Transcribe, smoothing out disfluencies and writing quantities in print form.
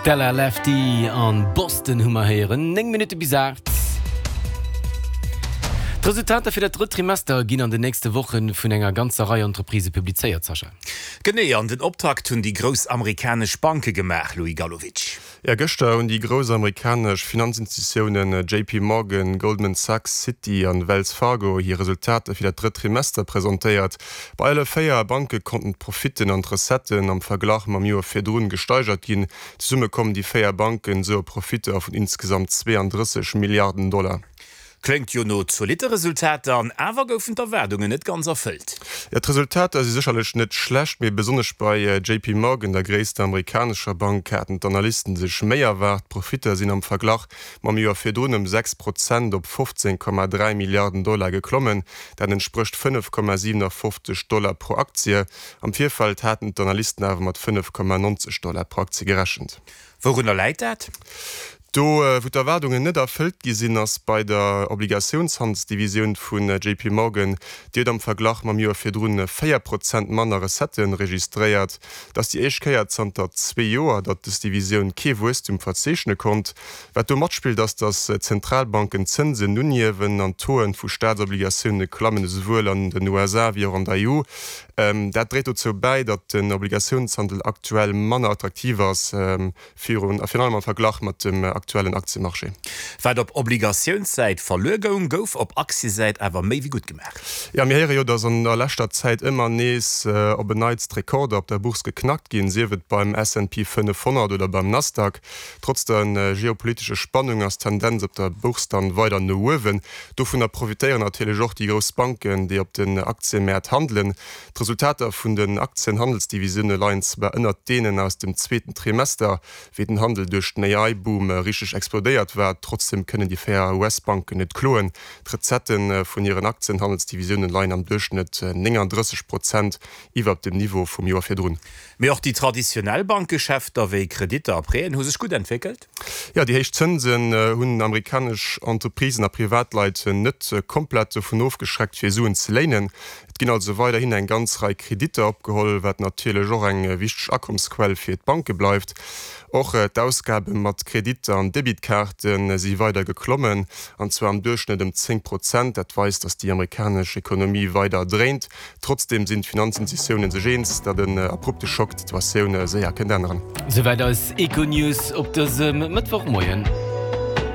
Stella Lefty an Boston hu mer héieren. 9 Minutte bis 8. D'Resultater fir dat drëtt Trimester ginn an den nächste Woche vun enger ganzer Rei Entreprisë publizéiert, Sascha. Genee, an den Optakt hunn déi grouss amerikanesch Banke gemaach, Louis Galowitsch. Jo, gëschter hunn déi grouss amerikanesch Finanzinstitutiounen JP Morgan, Goldman Sachs, Citi an Wells Fargo hir Resultater fir dat drëtt Trimester presentéiert. Bei alle 4 Banke konnten d'Profitten an d'Recetten am Verglach mam Joer virdrun gesteigert ginn. Zesumme kommen déi 4 Banken esou op Profitter vun insgesamt 32 Milliarden Dollar. Kléngt jo no zolitte Resultater, an awer goufen d'Erwaardungen net ganz erfëllt. Jo, d'Resultater si sécherlech net schlecht, mee besonnesch bei JP Morgan, der gréisster amerikanescher Bank, haten d'Analysten sech méi erwaart. D'Profitter sinn am Verglach mam Joer virdrun ëm 6 Prozent op 15,3 Milliarden Dollar geklommen. Dat entsprécht 5,57 Dollar pro Aktie. Am Virfeld haten d'Analysten awer mat 5,90 Dollar pro Aktie gerechent. Wourunner läit dat? Do, wou d'Erwaardungen net erfëllt gi sinn, ass bei der Obligatiounshandelsdivisioun vun JP Morgan. Déi huet am Verglach mam Joer virdrun 4 Prozent manner Recettë registréiert. Et ass déi éischt Kéier zanter zwee Joer, datt dës Divisioun kee Wuesstum verzeechne konnt. Wat do matspillt, ass, datt d'Zentralbanken d'Zënsen unhiewen an d'Tauxen vu Staatsobligatioune klammen, esouwuel an den USA wéi och an der EU. Dat dréit dozou bäi, datt den Obligatiounshandel aktuell manner attraktiv ass, virun a virun allem am Verglach mat dem aktuellen Aktiemarché. Wat op Obligatiounssäit verluer goung, gouf op Aktiesäit awer méi wéi gutt gemaach. Jo, mir héiere jo, datt an der leschter Zäit ëmmer nees op en Neits d'Rekorder op der Bourse geknackt ginn, sief et beim S&P 500 oder beim Nasdaq. Trotz der geopolitesche Spannung ass d'Tendenz op der Bourse dann weider no uewen. Dovunner profitéieren natierlech och déi grouss Banken, déi op den Aktiëmäert handelen. D'Resultater vun den Aktienhandelsdivisioune leien zwar ënnert deenen aus dem zweeten Trimester, wéi den Handel duerch den AI-Boom richteg explodéiert war. Trotzdeem kënnen déi 4 US-Banken net kloen. D'Recettë vun hiren Aktienhandelsdivisioune leien am Duerchschnëtt 39 Prozent iwwer dem Niveau vum Joer virdrun. Mee och déi traditionell Bankgeschäfter wéi Kreditter a Prêten hu sech gutt entwéckelt. Jo, déi héich Zënsen hunn amerikanesch Entreprisen a Privatleit net komplett dovun ofgeschreckt, fir Suen ze léinen. Et ginn also weiderhin eng ganz Rei Kreditter opgeholl, wat natierlech och eng wichteg Akommsquell fir d'Banke bleift. Och d'Ausgabe mat Kreditter an Debitkaarte si weider geklommen, an zwar am Duerchschnëtt ëm 10 Prozent. Dat weist, datt déi amerikanesch Ekonomie weider dréint. Trotzdeem sinn d'Finanzinstitutiounen sech eens, datt en abrupte Schock d'Situatioun séier kënnt änneren. Souwäit eis Econews op dësem Mëttwochmoien.